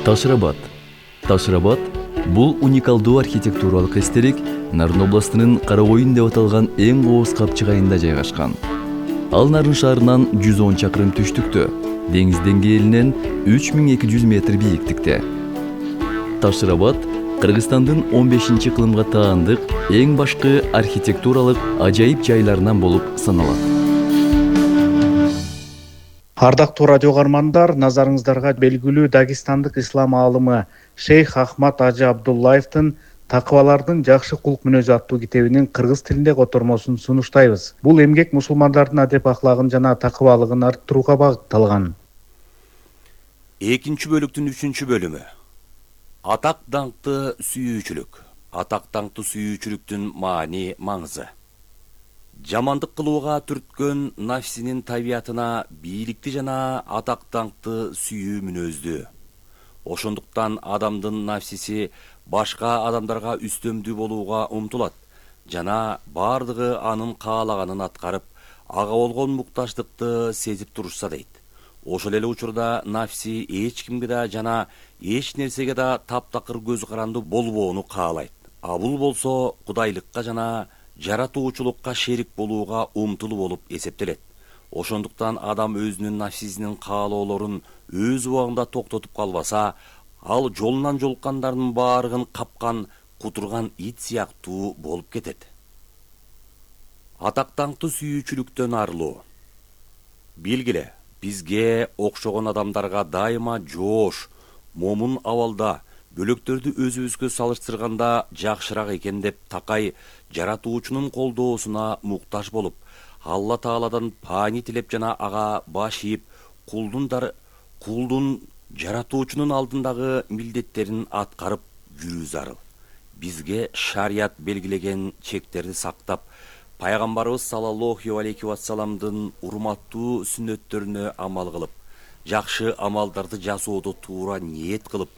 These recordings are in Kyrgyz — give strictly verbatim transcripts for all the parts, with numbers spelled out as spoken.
Таш-Рабат. Таш-Рабат бул уникалдуу архитектуралык эстелик Нарын областынын Карагойын деп аталган эң кооз капчык айында жайгашкан. Ал Нарын шаарынан жүз он чакырым түштүктө, деңиз деңгээлинен үч миң эки жүз метр бийиктикте. Таш-Рабат Кыргызстандын он бешинчи ыкылымга таандык эң башкы архитектуралык ажайып жайларынан болуп саналат. Ардактуу радио каармандар, назарыңыздарга белгилүү Дагестандык ислам аалымы Шейх Ахмад Ажы Абдуллаевдин Такыбалардын жакшы кулк мүнөзү аттуу китебинин кыргыз тилинде котормосун сунуштайбыз. Бул эмгек мусулмандардын адеп ахлагын жана такыбалыгын арттырууга багытталган. Экинчи бөлүктүн үчүнчү бөлүмү. Атак даңкты сүйүүчүлүк. Атак даңкты сүйүүчүлүктүн маани, маңызы. Жамандык кылууга түрткөн нафсинин табиятына бийликти жана атак даңкты сүйүү мүнөздүү. Ошондуктан адамдын нафсиси башка адамдарга үстөмдүү болууга умтулат жана бардыгы анын каалаганын аткарып, ага болгон муктаждыкты сезип турушса дейт. Ошол эле учурда нафси эч кимге да жана эч нерсеге да таптакыр көз каранды болбоону каалайт. А бул болсо кудайлыкка жана жаратуучулукка шерик болууга умтулуу болуп эсептелет. Ошондуктан адам өзүнүн нафсисинин каалоолорун өз убагында токтотуп калбаса, ал жолунан жолуккандардын баарыгын капкан, кутурган ит сыяктуу болуп кетет. Атак даңкты сүйүүчүлүктөн арылуу. Белгиле, бизге окшогон адамдарга дайыма жоош, момун абалда, бөлөктөрдү өзүбүзгө салыштырганда жакшыраак экен деп такай жаратуучунун колдоосуна муктаж болуп, Алла Тааладан паани тилеп жана ага баш ийип, кулдун кулдун жаратуучунун алдындагы милдеттерин аткарып жүрүү зарыл. Бизге шарият белгилеген чектерди сактап, пайгамбарыбыз саллаллаху алейхи вассаламдын урматтуу сүннөттөрүнө амал кылып, жакшы амалдарды жасоодо туура ниет кылып,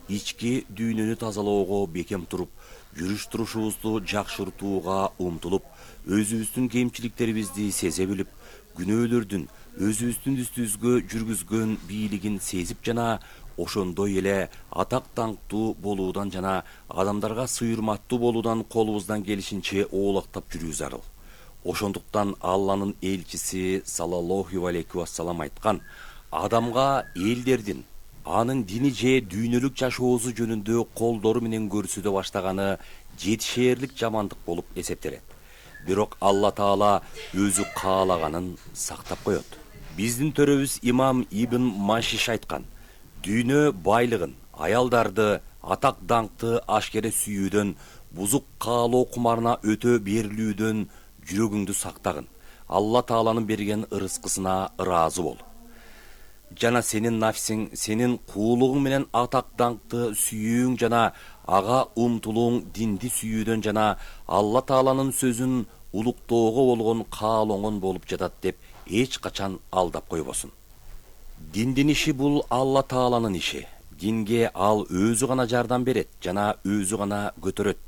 ички дүйнөнү тазалоого бекем туруп, жүрүш-турушубузду жакшыртууга умтулуп, өзүбүздүн кемчиликтерибизди сезе билип, күнөөлөрдүн өзүбүздүн үстүбүзгө жүргүзгөн бийлигин сезип жана ошондой эле атак даңктуу болуудан жана адамдарга сыйырматтуу болуудан колубуздан келишинче оолактап жүрүү зарыл. Ошондуктан Алланын элчиси саллаллаху алейхи вассалам айткан: адамга элдердин анын дини же дүйнөлүк жашоосу жөнүндө колдору менен көрсөтө баштаганы жетишээрлик жамандык болуп эсептелет. Бирок Алла Таала өзү каалаганын сактап коет. Биздин төрөбүз имам Ибн Машиш айткан: дүйнө байлыгын, аялдарды, атак даңкты ашкере сүйүүдөн, бузук каалоо кумарына өтө берилүүдөн жүрөгүңдү сактагын. Алла Тааланын берген ырыскысына ыраазы бол. Жана сенин нафсиң, сенин куулугуң менен атак даңкты сүйүүң жана ага умтулууң динди сүйүүдөн жана Алла Тааланын сөзүн улуктоого болгон каалооңон болуп жатат деп эч качан алдап койбосун. Диндин иши бул Алла Тааланын иши. Динге ал өзү гана жардам берет жана өзү гана көтөрөт.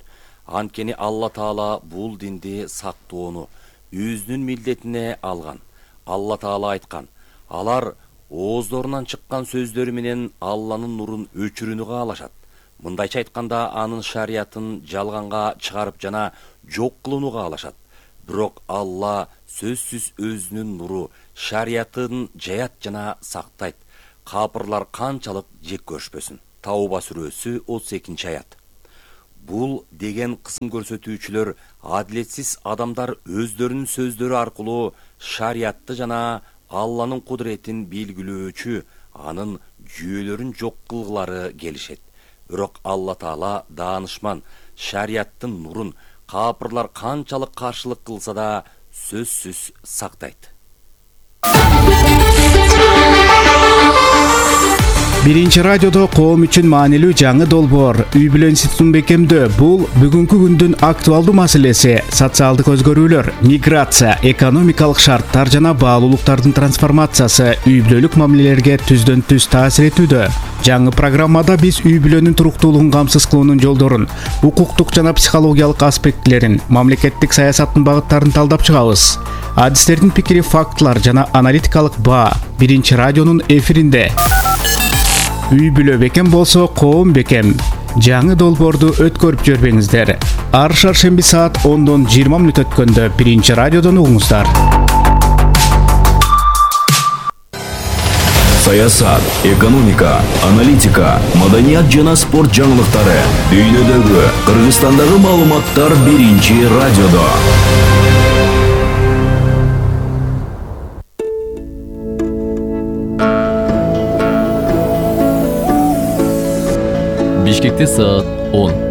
Анткени Алла Таала бул динди сактоону өзүнүн милдетине алган. Алла Таала айткан: алар ооздорунан чыккан сөздөрү менен Алланын нурун өчүрүүнү каалашат. Мындайча айтканда, анын шариятын жалганга чыгарып жана жок кылууну каалашат. Бирок Алла сөзсүз өзүнүн нуру, шариятын жаят жана сактайт. Капырлар канчалык жек көрүшпөсүн. Тауба сүрөсү отуз экинчи аят. Бул деген кысым көрсөтүүчүлөр адилетсиз адамдар өздөрүнүн сөздөрү аркылуу шариятты жана Алланын кудуретин белгилөөчү, анын жүйөлөрүн жок кылгылары келишет. Бирок Алла Таала даанышман, шарияттын нурун капырлар канчалык каршылык кылса да сөзсүз сактайт. Биринчи радиодо коом үчүн маанилүү жаңы долбоор үй бүлө институтун бекемдөө. Бул бүгүнкү күндүн актуалдуу маселеси. Социалдык өзгөрүүлөр, миграция, экономикалык шарттар жана баалуулуктардын трансформациясы үй бүлөлүк мамилелерге түздөн түз таасир этүүдө. Жаңы программада биз үй бүлөнүн туруктуулугун камсыз кылуунун жолдорун, укуктук жана психологиялык аспектилерин, мамлекеттик саясаттын багыттарын талдап чыгабыз. Адистердин пикири, фактылар жана аналитикалык баа Биринчи радионун эфиринде. үй бүлө бекем болсо коом бекем. Жаңы долбоорду өткөрүп жүрбөңүздөр. Ар шаршемби саат ондон жыйырма мүнөт өткөндө биринчи радиодон угуңуздар. Саясат, экономика, аналитика, маданият жана спорт жаңылыктары, дүйнөдөгү, Кыргызстандагы маалыматтар биринчи радиодо. Бишкекте саат он.